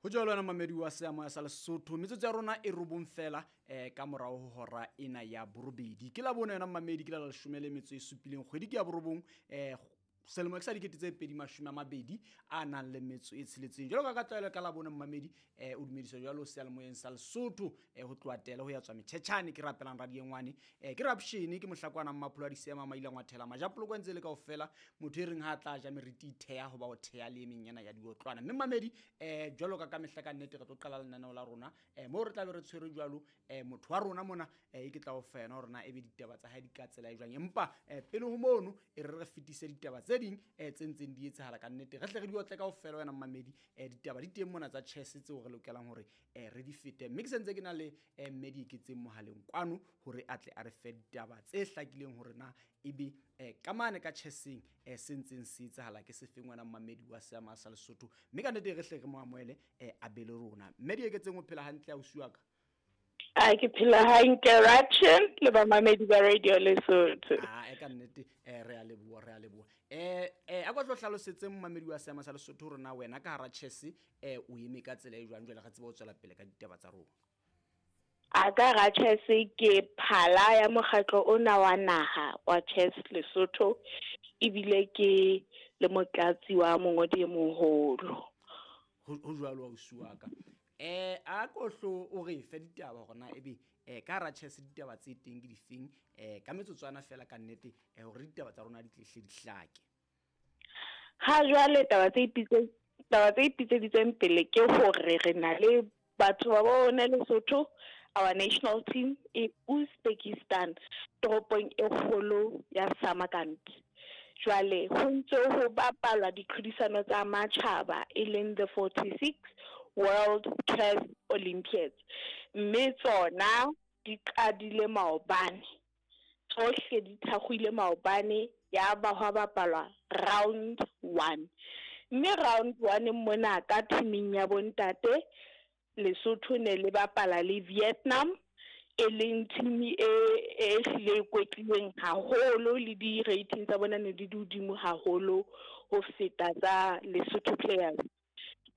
Ho jwalo wena mamedi wa seamoya sa Lesotho, metsotso ya rona e robong fela ka morao ho hora ena ya borobedi. Ke la bone yona mamedi, ke la 17 kgwedi ke ya borobong, selemo ke sa 2026. Jwalo ka tlwaelo ka la bone mmamedi, o dumediswa jwalo seyalemoyeng sa Lesotho, ho tloha tele ho ya tswa metjhetjhane. Ke rapelang radiengwane, ke rapshene, ke mohlakwana mmapholo a disema maila ngwathela majapoloko ntse le kaofela. Motho e reng ha tla ja meriti itheha hoba o theha le emeng yana ya diotlwana. Mme mmamedi, jwalo ka mehla ka nnete re tlo qala lenaneo la rona, moo re tla be re tshwere jwalo, motho wa rona mona, e ke tla o fa yena hore na ebe ditaba tsa hae di ka tsela e jwang. Empa pele ho mono e re fetise ditaba tse ding tse ntseng di etsahala ka nnete, re hle re di otle kaofela wena mmamedi. Ditaba di teng mona tsa chess tseo re lokelang hore re di fete, mme ke sentse ke na le mme Dieketseng mohaleng kwano hore a tle a re fe ditaba tse hlakileng hore na ebe ka mane ka chesseng se ntseng se etsahala ke sefeng wena mmamedi wa seama sa Lesotho. Mme ka nnete re hle re mo amohele, a be le rona. Mme Dieketseng, o phela hantle ausi wa ka? A ke phela hantle, Ratchen le bamamedi ba Radio Lesotho. A e ka nnete, re a leboha, re a leboha. A kwa tlo hlalosetse mmamedi wa seama sa Lesotho hore na wena ka hara chess o eme ka tsela e jwang, jwale re tsebe ho tswela pele ka ditaba tsa rona. A ka hara chess ke phala ya mokgatlo ona wa naha wa Chess Lesotho, ebile ke le motlatsi wa mongodi e moholo. Ho jwalo ausi wa ka. A ko hlo o re fe ditaba hore na ebe ka hara chess ditaba tse teng ke difeng, ka metsotswana fela ka nnete, hore ditaba tsa rona di tle hle di hlake. Ha jwale taba tse ipitseditseng pele ke hore re na le batho ba bona Lesotho, our national team e Uzbekistan, toropong e kgolo ya Samarkand. Jwale ho ntse ho bapalwa ditlhodisano tsa matjhaba e leng the 46 World Chess Olympiads, mme tsona di qadile maobane, tsohle di thakgoile maobane, ya ba hwa bapalwa round 1. Mme round 1 mona ka teaming ya bontate, Lesotho ne le bapala le Vietnam, e leng team e hlile e kwetlilweng haholo, le di-rating tsa bona ne di hodimo haholo ho feta tsa Lesotho players.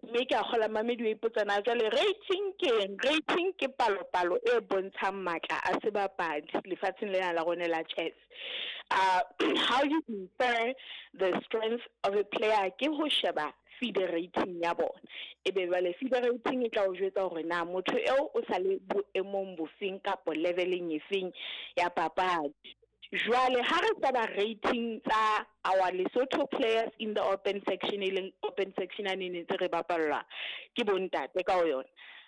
Mme ke a kgola mamedi wa ipotsa na jwale rating ke eng? Rating ke palopalo e bontshang matla a sebapadi lefatsheng lena la rona la chess. How you infer the strength of a player ke ho sheba FIDE rating ya bona. Ebe jwale FIDE rating e tla o jwetsa hore na motho eo o sa le boemong bofeng kapa leveleng efeng ya papadi. Jwale ha re sheba rating tsa our Lesotho players in the open section, e leng open section a ne ntse re bapallwa ke bontate ka ho yona,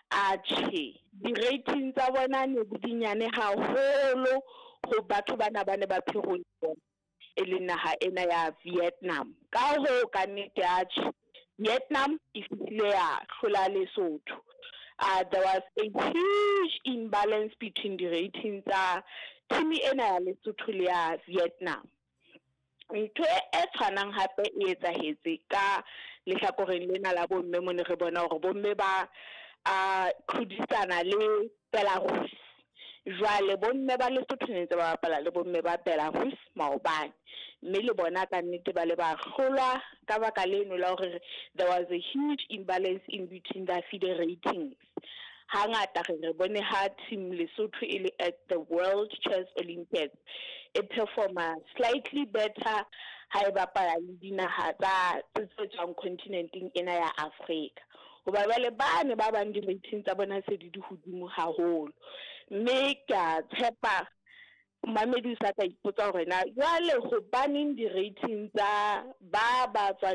atjhe di-rating tsa bona ne di dinyane haholo ho batho bana ba ne ba phehong e leng naha ena ya Vietnam. Ka hoo ka nnete atjhe Vietnam e fihlile ya hlola Lesotho. There was a huge imbalance between the ratings tsa team ena ya Lesotho le ya Vietnam. Ntho e tshwanang hape e etsahetse ka lehlakoreng lena la bomme, mo ne re bona hore bomme ba tlhodisana le Belarus. Jwale bomme ba Lesotho ne ntse ba bapala le bomme ba Belarus maobane, mme le bona ka nnete ba le ba hlolwa ka baka leno la hore there was a huge imbalance in between the FIDE ratings. Hangata re bone ha team Lesotho e le at the World Chess Olympiads e performa slightly better ha e bapala le dinaha tsa tse tswang continenteng ena ya Afrika. Hoba jwale bane ba bang di-rating tsa bona se di hodimo haholo. Mme ke a tshepa mamedi o sa ka ipotsa hore na jwale hobaneng di-rating tsa ba tswang